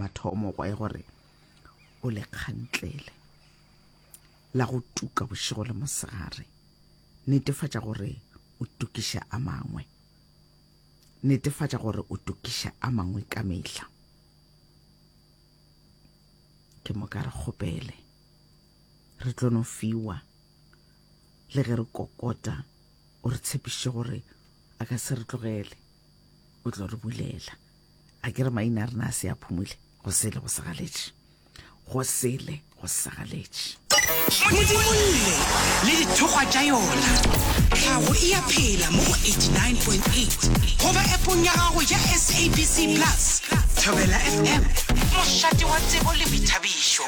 mathomo gwa e gore o le kgantlele la go tuka bošego le mosegare. Netefatša gore o tukiša a mangwe. Netefatša gore o tukiša a mangwe ka mehla. Ke moka re kgopele. Re tlo no fiwa. Le ge re kokota, o re tshepišitše gore a ka se re tlogele. O tlo re bulela. A ke re maina a rena a se a phumule go sele go sagaletše. Go sele go sagaletše. Modimolle le dithokgwa tša yona. Tlhago e a phela mo go 89.8 goba appong ya gago ya SABC Plus. Thobela FM, mošate wa tsebo le boithabišo.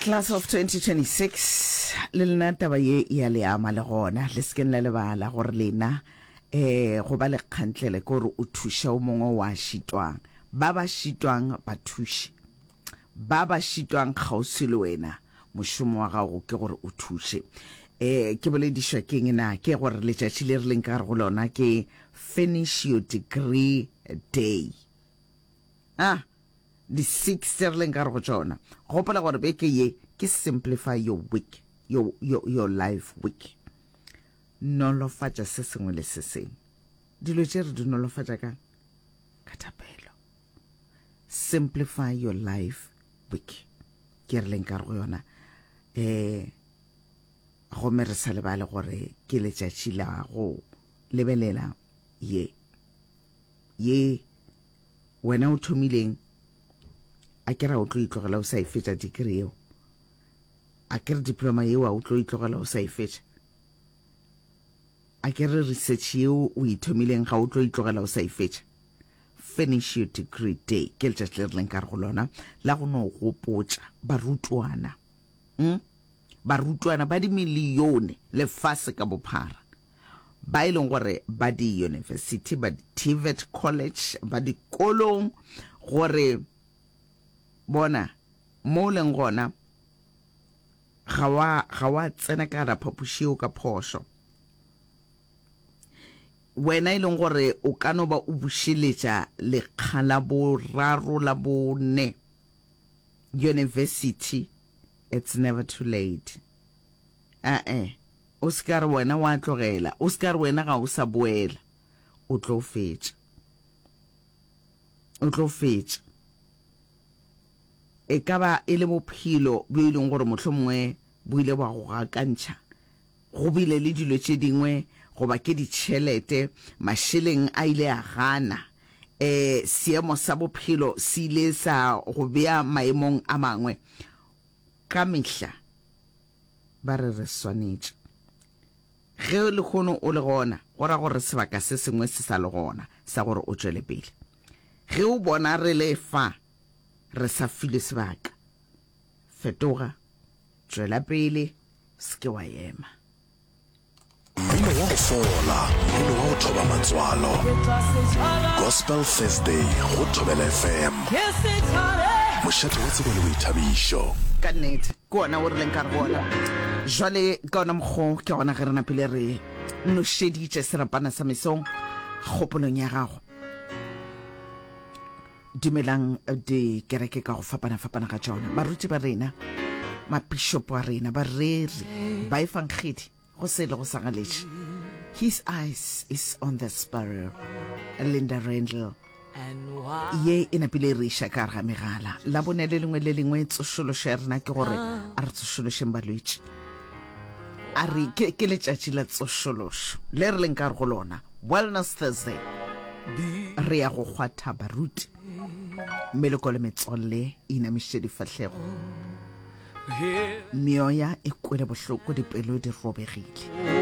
Class of 2026 le lena taba ye e a le ama le gona le se keng la lebala gore lena um go ba lekgantlele ke gore o thuša o mongwe wa šitwang ba ba šitwang ba thuše ba ba šitwang kgauswi le wena mošomo wa gago ke gore o thuše um ke boledišwa keng na ke gore letšatši le re leng ka gare go lona ke finish your degree day ah di-six tse re leng ka gare go tšona gopola gore beke ye ke simplify your week your, your, your life week nolofatša se sengwe le se sengwe dilo tše re di nolofatša kang ka thapelo simplify your life week ke re leng ka go yona um gomme re sa lebale gore ke letšatši la go lebelela ye ye wena o thomileng a ke ra o tlo itlogela o sa e fetša degree yeo a ke re diploma yeo a o tlo itlogela o sa e fetša a ke re research yeo o e thomileng ga o tlo itlogela o sa e fetša finish your degree day ke letšatši le re leng ka re go lona la go no gopotša barutwana mm? barutwana ba dimilione lefase ka bophara ba e leng gore ba di-university ba di-tvet college ba dikolong gore bona mo o leng gona ga wa ga wa tsena ka gara phapoši yeo ka phošo wena e leng gore o ka no ba o bušeletša lekga la boraro la bone university it's never too late ae o se ka re wena wa tlogela o se ka re wena ga o sa boela o tlo fetša o tlo fetša E ka ba e le bophelo bjo e leng gore mohlomongwe bo ile bwa go gakantšha, go bile le dilo tše dingwe goba ke ditšhelete, mašeleng a ile a gana, e, seemo sa bophelo se ile sa go bea maemong a mangwe. Ka mehla ba re re swanetše. Ge lehono o le gona, go ra gore sebaka se sengwe se sa le gona sa gore o tšwele pele. Ge o bona re le fa, re sa filwe sebaka. Fetoga, tšwela pele, se ke wa ema. Mmino wa go fola, mmino wa go thoba matswalo. Gospel Thursday go Thobela FM. Mošate wa tsebo le boithabišo. Ka nnete, ke wona wo re leng ka re go ona. Jwale ka ona mokgo ke gona ge re napile re nošeditše serapana sa mesong kgopolong ya gago. Dumelang dikereke ka go fapana-fapana ga tšona, baruti ba rena, mapišopo a rena, bareri, baefangedi, go se le go sa galetše. His eyes is on the sparrow. Linda Randle. Ye e napile e re iša ka gare ga megala. Labone le lengwe le lengwe tsošološo ya rena ke gore a re tsošološeng balwetši. A re ke, ke letšatši la tsošološo le re leng ka gare go lona. Wellness Thursday. Re ya go kgwatha baruti. Meloko le metswalle e inamišitše difahlego. Meoya e kwele bohloko, dipelo di robegile.